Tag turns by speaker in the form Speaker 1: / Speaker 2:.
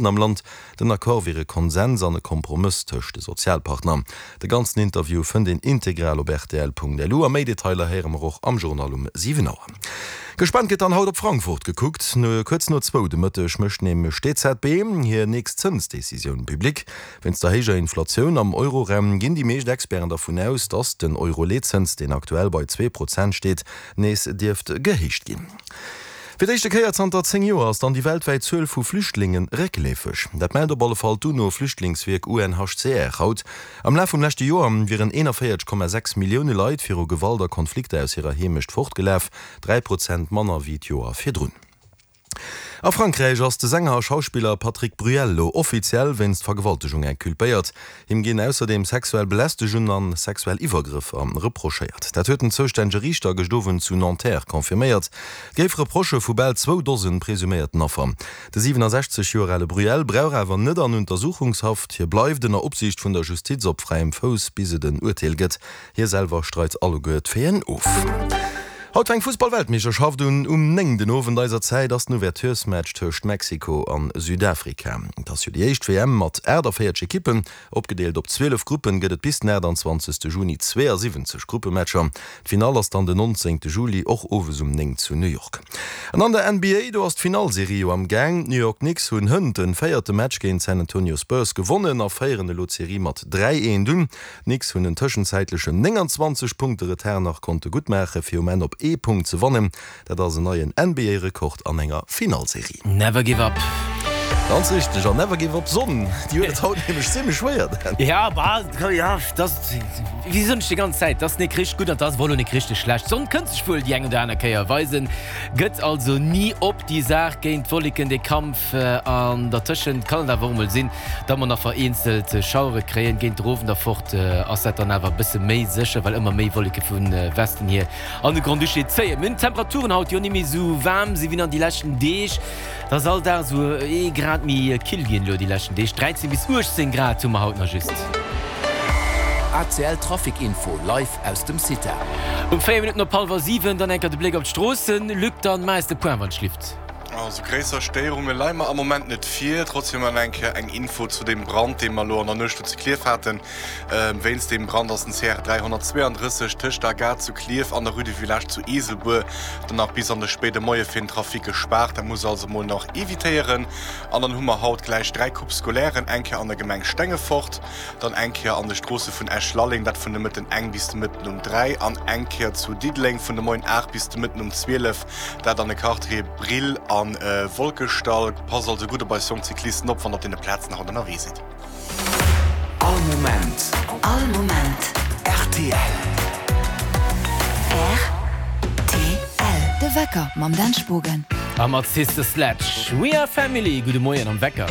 Speaker 1: Am Land. Den Accord wier e Konsens an e Kompromëss tëscht de Sozialpartner. De ganzen Interview fënnt een integral op rtl.lu a méi Detailer héiere mer och am Journal um 7 Auer. Gespaant gëtt dann haut op Frankfurt gekuckt. Kuerz no zwou de Mëtteg mécht nämlech d'EZB hir nächst Zënsdecisioun public. Wéinst der héijer Inflatioun am Euroraum ginn déi meescht Experten dervun aus, datt den Euro-Leetzëns, deen aktuell bei 2% steet, nees dierft gehéicht ginn. Fir d'éischte Kéier zanter 10 Joer ass dann déi weltwäit Zuel vu Flüchtlinge réckleefeg. Dat mellt op alle Fall d'UNO-Flüchtlingswierk UNHCR haut. Am Laf vum leschte Joer wieren 41,6 Millioune Leit viru Gewalt a Konflikter aus hirer Heemecht fortgelaf, 3 Prozent manner wéi d'Joer virdrun. A Frankräich ass de Sänger a Schauspiller Patrick Bruel lo offiziell wéinst Vergewaltegung inculpéiert. Him ginn ausserdeem sexuell Belästegung an sexuell Iwwergrëffer reprochéiert. Dat huet den zoustännege Riichter gëscht Owend zu Nanterre confirméiert. Et géif Reprochë vu bal zwou Dosen presuméierten Affer. De 67 Joer ale Bruel brauch awer net an Untersuchungshaft. Hie bleift ënner Opsiicht vun der Justiz op fräiem Fouss, bis et en Urteel gëtt. Hie selwer streit alleguer d'Faiten of. Haut fänkt d'Fussball-Weltmeeschterschaft un. Um 9 den Owend eiser Zäit ass den Ouverturesmatch tëscht Mexiko an Südafrika. Et ass jo déi éischt WM mat 48 Ekippen. Opgedeelt op 12 Gruppen gëtt et bis den 28 Juni 72 Gruppematcher. D'Finall ass dann den 19 Juli, och owes um 9 zu New York. An an der NBA, do ass d'Finallserie jo am Gaang. D'New York Knicks hunn hënt den véierte Match géint d'San Antonio Spurs gewonnen a féieren elo d'Serie mat 3, 1 un. D'Knicks hunn en tëschenzäitlechen 29 Punkte Retard nach konnte guttmaache fir um Enn op ee Punkt ze wannen. Dat ass en neien NBA-Rekord an enger Finallserie.
Speaker 2: Never give up.
Speaker 1: Ganz richteg, an never give up Sonn, déi huet et haut nämlech zimmlech schwéier, Dan.
Speaker 2: Ja, bah, ja, dat, wéi soen ech déi ganz Zäit, dat ass nik richteg gutt an dat ass wuel och nik richteg schlecht. D'Sonn kënnt sech wuel déi eng oder aner Kéier weisen, gëtt also ni op déi Saach géint d'Wolleken, dee Kampf. An dertëschent kann et awer och emol sinn, Datt mer nach vereenzelt Schauere kréien. Géint der Owend erfort ass dat dann awer e bësse méi sécher, well ëmmer méi Wolleke vu Westen hier an de Grand-Duché zéien. Mir hunn d'Temperaturen haut, déi och net méi esou waarm sinn wéi nach déi leschten Deeg. Et ass all Dag esou ee Grad méi kill ginn elo déi leschten Deeg. 13 bis 18 Grad hu mer haut nach just.
Speaker 3: ACL Trafic Info live aus dem CITA.
Speaker 2: Um 4 Minutten op hallwer 7 dann enker de Bléck op d'Stroossen. Luc, dann maach eis de Point, wann et schlift.
Speaker 4: Also gréisser Stéierunge leie mer am Moment net vir. Trotzdem nach eng Kéier eng Info zu deem Brand, dee mer elo an der Nuecht do zu Klierf haten. Wéinst deem Brand ass den CR 332 tëscht der Gare zu Klierf an der Rue du Village zu Eeselbuer dann nach bis an de spéide Moie fir den Trafic gespaart. Dat muss also mol nach evitéieren. An dann hu mer haut gläich 3 Coupes scolairen, eng Kéier an der Gemeng Stengefort, dann eng Kéier an de Stroosse vun Esch-Lalleng, dat vun de Mëtten eng bis de Mëtten um 3, an eng Kéier zu Diddeleng vun de Moien 8 bis de Mëtten um 12. Dat an de Quartiere Brill a Wolkeschdall. Passt also gutt op eis jonk Cyclisten op, wann der op deene Plazen haut ënnerwee sidd.
Speaker 3: All Moment.
Speaker 5: All Moment.
Speaker 3: Rtl.
Speaker 5: Rtl. De Wecker mam Dan Spogen.
Speaker 2: A mat Sister Sledge, We Are Family. Gudde Moien am Wecker.